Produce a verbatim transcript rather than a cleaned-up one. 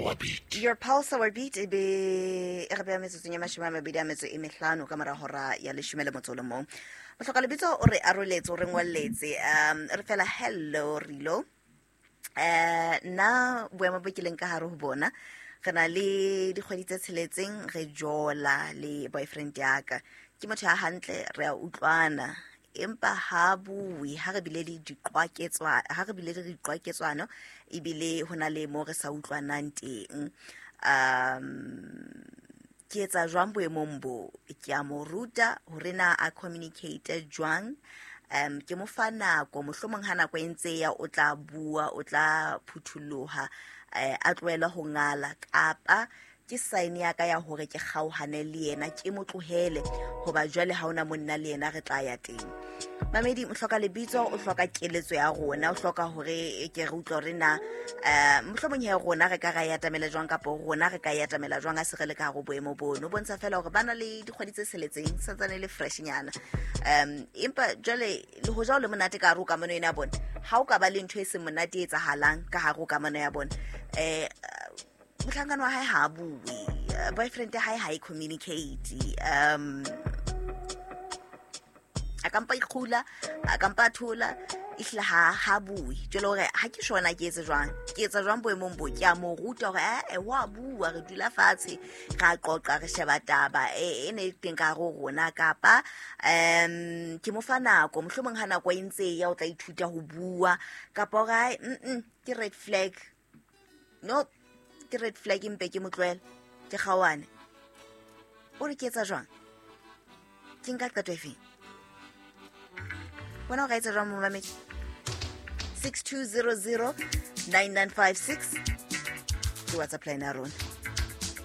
our beat. Your pulse, our beat e be e re beha metsotsong ya mashome a mabedi a metso e mehlano ka mora hora ya leshome le motso o le mong. Mohloka lebitso o re aroletse, o re ngolletse, um re fela hello Rilo. Eh nna boemo bo ke leng ka hare ho bona, re na le dikgwedi tse tsheletseng re jola le boyfriend ya ka. Ke motho ya hantle, re a utlwana, empa ha bue ha re bile le diqwaketswa, ha re bile le diqwaketswano ebile ho na le mo re sa utlwanang teng. Um ke etsa jwang boemong bo? Ke a mo ruta hore na a communicate jwang. Um ke mo fa nako, mohlomong ha nako e ntse ya o tla bua, o tla phuthuloha, eh, a tlohele ho ngala, kapa ke sign ya ka ya hore ke kgaohane le yena, ke mo tlohele hoba jwale ha ona monna le yena re tla ya teng. Mamedi, o hloka lebitso, o hloka keletso ya rona, o hloka hore ke re utlwe hore na, eh, mohlomong he rona re ka ra e atamela jwang, kapa rona re ka e atamela jwang ha se re le ka hare ho boemo bono. O bontsha feela hore ba na le dikgwedi tse tsheletseng, santsane le fresh nyana. Um empa jwale le hoja o le monate ka hare ho kamano ena ya bona, ha o ka ba le ntho e seng monate e etsahalang ka hare ho kamano ya bona, eh, mohlankana wa hae ha a bue, eh, boyfriend ya hae ha e communicate, um a ka mpa ikgula, a ka mpa a thola, ehlile ha, ha bue. Jwale hore ha ke sure na ke etse jwang, ke etsa jwang boemong bo? Ke a mo ruta hore, eh, wa bua, re dula fatshe, ra qoqa, re sheba taba e, e ne e teng ka hare ho rona, kapa, um ke mo fa nako, mohlomong ha nako e ntse e ya o tla ithuta ho bua, kapa hore hai, mm-mm, ke red flag. No, ke red flag empe ke mo tlohele, ke kgaohane. O re ke etsa jwang? Ke nka qeto efeng? Wena o ka etsa jwang momamedi? six two zero zero nine nine five six ke WhatsApp line ya rona.